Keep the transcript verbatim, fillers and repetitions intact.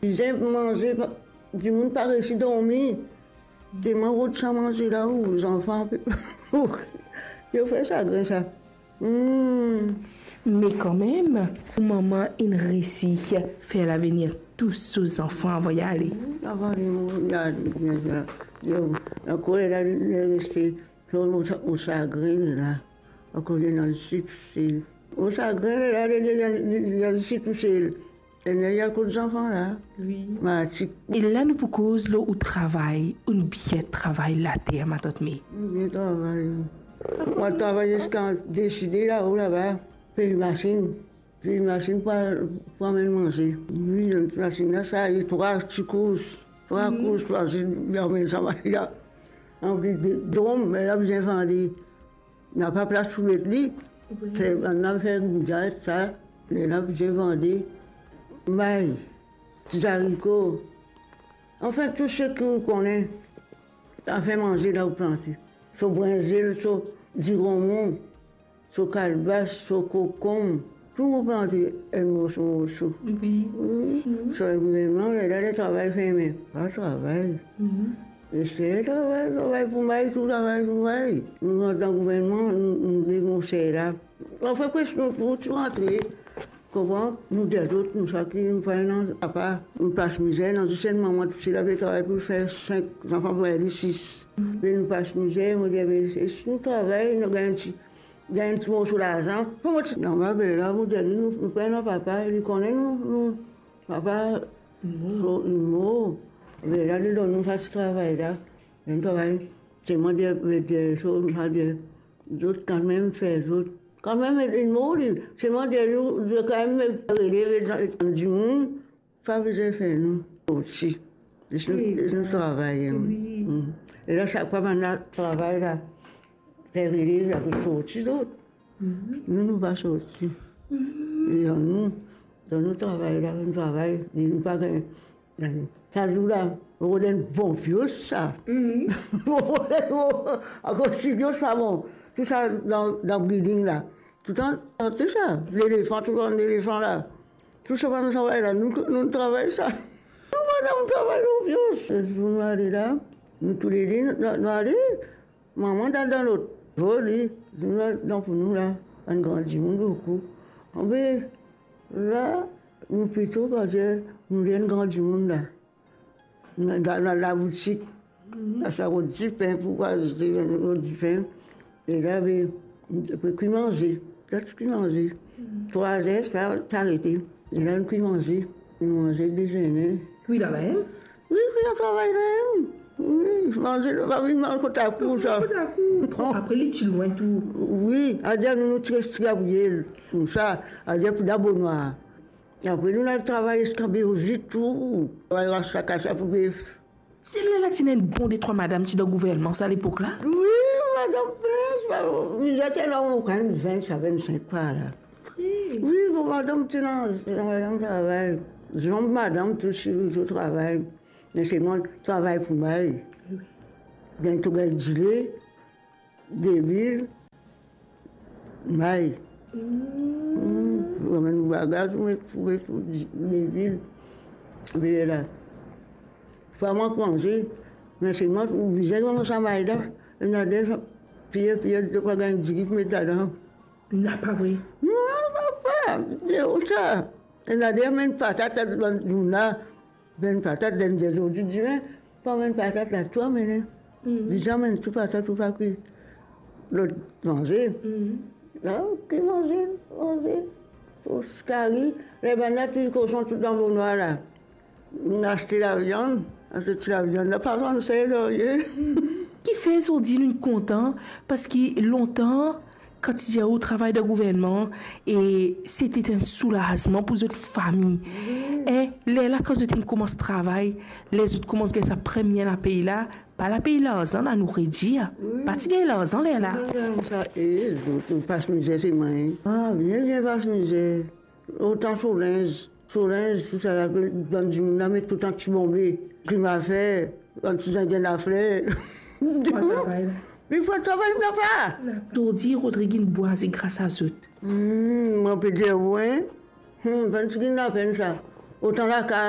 Bizin manze, pa, dimoun pa resi dormi. Telman rod sa manze la, ou zanfan pe, yo fer sagrin sa. Hmm. Me kanmem, ou mama inn resi fer lavenir tou so zanfan avan li ale. Avan li mouri, li ale, li ale, li ale. Yo, ankor li la, li reste. Mo, mo, mo sagrin la. Akoz li ena li tousel. Mo sagrin la, li, li, li, li, li ena li tousel. Ena li al kot zanfan la. Wi. Marti. E la nou pou koz lor ou travay, ou bien travay later, matant May. Mo bien travay. Mo travay ziska deside lao laba. Pey masinn. Pey masinn pou al, pou amenn manze. Wi, dan masinn la, sa, e trwa ti kous. Trwa kous, fasil, li amenn sa manze la. Anplis de drom, me la bizin vande. Napa plas pou met li. Wi. Fer, bann la fer goudar, sa, lerla bizin vande. May, ti zariko. Anfin, tou seki ou kone, afin manze la ou plante. So brinzel, so diromon, so kalbas, so kokonm, tou mo plante enn morso, morso. Wi. Wi. Mhm. Sa gouvernman, lerla travay ferme. Pa travay. Mhm. Esaye travay, travay pou may, tou travay pou may. Nou antan gouvernman, nou, nou de mo ser la. Anfin, pres nou pou tou rantre. Konpran? Nou dir zot, nou sa ki nou pa ena papa, nou pas mizer, nou zis enn mama tousel, la pe travay pou fer sink zanfan, pou li sis. Mhm. Me nou pas mizer, mo dir, be, si nou travay, nou gagn ti, gagn ti morso larzan. Mo ti, non, ma bel la, mo dir li, nou, nou pa ena papa, li kone nou, nou, papa, mor. So, li mor. Be la, li donn nou sa ti travay la. Enn travay, se mo dir, be, dir, so, mo dir, zot kanmem fer zot. Kanmem, li mor, li. Se mo dir, zot kanmem relev dimoun, pa bizin fer nou sorti. Les nou, les nou travay, hein. Wi. Mm. E la, sak fwa bann la travay la, fer relev la, pou sorti zot. Mhm. Nou, nou pa sorti. Mhm. E dan nou, dan nou travay la, nou travay, e nou pa gagn. Sa zour la, mo rod enn bon vios sa. Mhm. Mo rod enn bon, akoz ti vios pa bon. Tou sa dan, dan breeding la. Toutan, tou sa, lelefan, tou bann lelefan la. Tou sa bann travay la, nou, nou travay sa. Nou madanm travay lor vios. Pou nou ale la, nou toulede, nou, nou ale. Mama dan, dan lot. Voli, nou dan pou nou la, bann gran dimoun boukou. Anbe, la, nou plito, parski nou enn gran dimoun la. Nou dan, dan laboutik, mhm, aste rod dipin pou aste rod dipin. E la, be, pe kwi manze. La, ti kwi manze. Mhm. Trwa zer, sa, ti arete. E la, nou kwi manze. Nou manze, dezene. Kwi laba, hein? Wi, wi, dan travay la, wi. Wi, manze, pa vinn manz kot lakour, sa. Kot lakour. Apre, li ti lwin tou. Wi, adir nou, nou ti res ti gabriel. Koumsa, adir pou dan bonwar. Apre, nou al travay ziska Beozit tou. Travay ras sa, kas sa pou bef. Se lerla ti ena enn bon detrwa madam ti dan gouvernman sa, lepok la? Wi, madam plin, pa, li ti ena okenn vin a vinn sink par la. Vre? Wi, bon, madam ti ena, ti ena madam travay. Zom madam tou, ti, ti travay. Me selman travay pou may. Wi. Gagn to gagn dile, delwil, may. Mm. Mm. Ou amenn ou bagaz, ou met, ou met, ou met delwil. Be la. Fwa mank manze, me selman ou bizin manz sa may la. Ena de, piye, piye, to pa gagn diri pou met ladan. Napa vre? Non, papa, de sa. Ena de amenn patat, bann dimoun la, amenn patat, donn de zordi, dimin, pa amenn patat la, tou amene. Mhm. Bizin amenn tou patat pou pa kwi. Lot manze. Mhm. Ah, ki manze, manze. Sos kari, le bann la, tou koson, tou dan bonwar la. Nou aste laviann, aste ti laviann la, pa zann ser, non, ye. Kifer zordi nou kontan, parski lontan, kan ti dir ou travay dan gouvernman, e se ti enn soulazman pou zot fami. Wi. E lerla, kan zot inn koumans travay, ler zot koumans gagn sa premie lapey la, pa lapey larzan la, nou redir. Wi. Pa ti gagn larzan lerla. Nou gagn sa, e, nou, nou pas mizer, se mwa, hein. Ah, bien, bien pas mizer. Otan so linz, so linz, tou sa la, bann dimoun la met toutan ti bonbe, krim afer, bann ti zingin lafler. Travay. Me pa travay, napa. Zordi, Rodrig inn bwaze gras a zot. Hmm, mo pe dir ou, hein. Hmm, bann ti gagn lapenn sa. Otan lakaz,